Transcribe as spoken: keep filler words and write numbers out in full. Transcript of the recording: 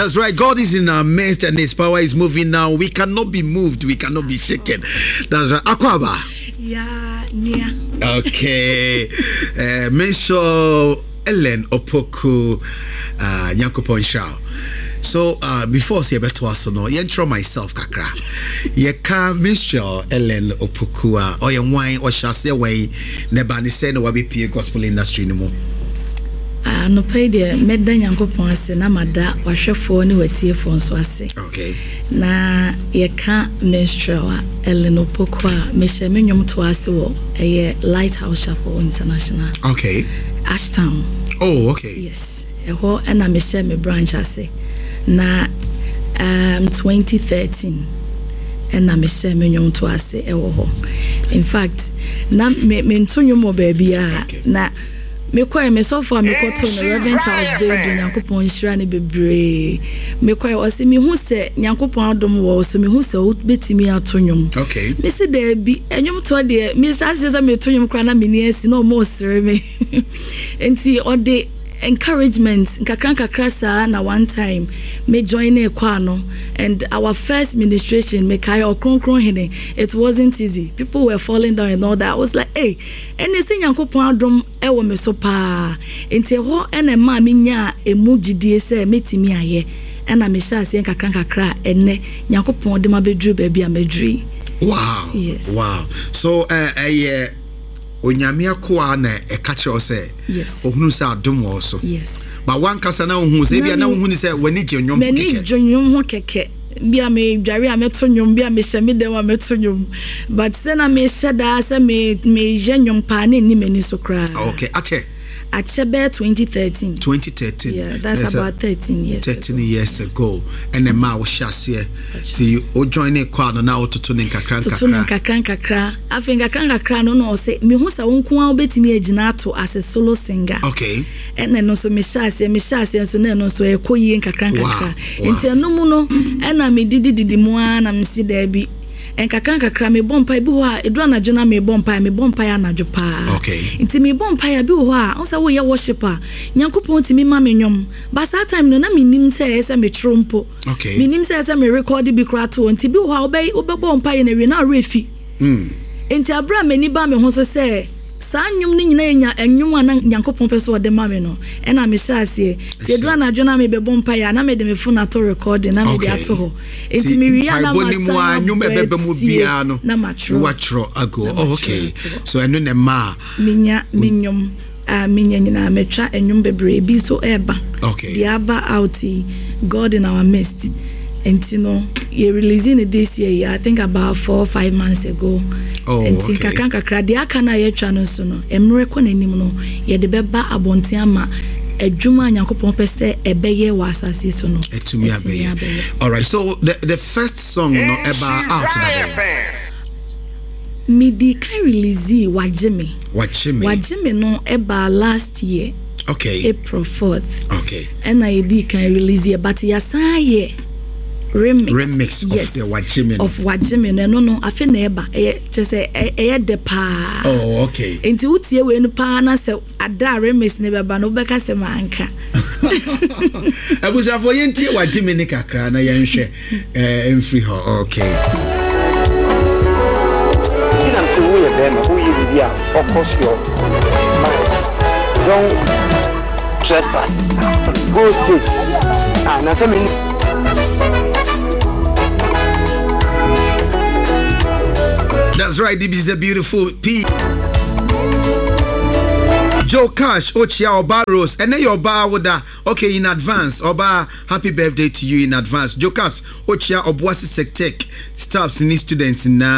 That's right. God is in our midst and His power is moving now. We cannot be moved. We cannot be shaken. That's right. Akwaaba. Yeah, nia. Okay. uh, Minstrel Ellen Opoku uh, Nyankopɔn nhyira. So uh, before sɛ yɛbɛtoa so no, yɛntwerɛ myself kakra. Yɛka Minstrel Ellen Opoku a, ɔyɛ wan, ɔhyɛ aseɛ wɔn na ɛba ne sɛ na wabɛpie gospel industry no mu? Anɔpa yi deɛ, mɛda Nyankopɔn ase na mada wahwɛfoɔ ne watiefoɔ nso ase. Okay. Na yɛka Minstrel a Ellen Opoku a, mehyɛ me nnwom to ase wɔ ɛyɛ Lighthouse Chapel International. Okay. Ashtown. Oh, okay. Yes, ɛhɔ ɛna mehyɛ me branch ase na um, twenty thirteen ɛna mehyɛ me nnwom to ase ɛwɔ hɔ. In fact, na me mento nnwom wɔ baabi a Okay. na mekɔɛ me sɔfo a mekɔtoo no, Reverend Charles Badu, Nyankopɔn nhyira no bebree. Mekɔɛ, ɔse mehu sɛ Nyankopɔn adom wɔ wo so, mehu sɛ wobɛtumi ato nnwom. Okay. Mesi daabi, ɛnwom toɔ deɛ, mehyɛ aseɛ sɛ meto nnwom koraa na menni asi na ɔma ɔsere me. Nti ɔde encouragement nkakra nkakra saa na one time me join ne choir no, and our first ministration, mekae Ɔkronkron Hene. It wasn't easy, people were falling down and all that. I was like, "Hey, ɛne sɛ Nyankopɔn adom ɛwɔ me so paa." Nti ɛhɔ ɛna ɛmaa menyaa emu gyidie sɛ mɛtumi ayɛ, ɛna mehyɛ aseɛ nkakra nkakra a ɛnɛ Nyankopɔn de ma bɛduru baabi a mɛduru yi. Wow. Yes. Wow. So uh, ɛyɛ Onyame akoa na ɛka kyerɛ wo sɛ Yes. ohunu sɛ adom wɔ wo so? Yes. Ba wankasa na wohu sɛ ebia na wohu ne sɛ w'ani gye nnwom ho M'ani kɛkɛ? gye nnwom ho kɛkɛ. Bi a medware a mɛto nnwom, bi a mehyɛ me dɛm a mɛto nnwom, but sɛ na mehyɛ daa sɛ me meyɛ nnwom paa na ɛnni m'ani so koraa. Okay, akyɛ. Akyɛ bɛyɛ twenty thirteen. twenty thirteen. Yeah, that's That's a- about thirteen years thirteen ago. Years ago ɛna ɛma a wohyɛ aseɛ nti wo join ne kɔ ano na wototo ne nkakra Toto no nkakra. Nkakra nkakra. Afei nkakra nkakra no na ɔsɛ mehu sɛ wo nko a wobɛtumi agyina ato as a solo singer. Okay ɛna ɛno nso mehyɛ aseɛ mehyɛ aseɛ nso na ɛno nso ɛkɔ yie nkakra nkakra. Wow, wow. Nti ɛno mu no ɛna medidididi mu ara na mesi daabi, nkakra nkakra mebɔ mpae bi hɔ a ɛduru anadwo na mebɔ mpae mebɔ mpae anadwo paa. Okay. Nti mebɔ mpae a, bi wɔ hɔ a wo sɛ woyɛ worship a, Nyankopɔn tumi ma me nnwom ba. Saa time no na mennim sɛ ɛyɛ sɛ metwerɛ mpo. Okay. Mennim sɛ ɛyɛ sɛ merekɔde bi koraa to hɔ. Nti bi wɔ hɔ a wobɛ- wobɛbɔ mpaeɛ no awie na awerɛ fi. mm. Nti abere a m'ani ba me ho so sɛ saa nnwom no nyinaa yɛ nnwom a na Nyankopɔn pɛ sɛ ɔde ma me no, ɛna mehyɛ aseɛ. Nti ɛduru anadwo na mebɛbɔ mpaeɛ a, na mede me phone ato recording na mede Okay. ato hɔ. Nti mewie a na mpaebɔ no mu a masan nnwom a ɛbɛba mu abrɛ tie biara no na matwerɛ. Watwerɛ ago. Na Oh, matwerɛ okay. ato hɔ. So ɛno na ɛma a Menya me nnwom a menya nyinaa, matwa nnwom bebree bi nso ɛɛba. Okay. Deɛ aba out yi, God in Our Midst, nti no yɛ releasing it this year yi, I think about four five months ago. Oh, nti okay. nkakra nkakra deɛ aka no a yɛatwa no nso no, mmerɛ kɔ n'anim no, yɛde bɛba abɔnten ama adwuma a Nyankopɔn pɛ sɛ ɛbɛyɛ wɔ asase yi so no ɛtumi abɛyɛ. Alright, so the, the first song no ɛba out da bɛn? Medi kan release Wagye Me. Wagye Me. Wagye Me no ɛbaa last year, okay April fourth. Okay ɛna yɛdi kan release yɛ, but yɛasan yɛ remix. Remix of Yes, the Wagye Me no. Of Wagye Me no. Ɛno no afe na ɛba, ɛyɛ kyerɛ sɛ ɛ- ɛyɛ dɛ paa. Oh, okay. Nti wotie wei no paa na sɛ ada a remix ne bɛba no, wobɛka sɛ manka. Abusuafoɔ, yɛntie Wagye Me ne kakra na yɛnhwɛ eh, mfiri hɔ. Okay. Nam sɛ woyɛ bɛrima, woyɛ biribi a ɔkɔ your mind, don't trespass, go straight. Ah, na sɛ me That's right, this is a beautiful P. Joe Cash, Ochia Oba Rose, and then your bar woda. Okay, in advance, Oba, happy birthday to you in advance. Joe Cash, Ochia Obuasi Sectec, staffs, ni students na.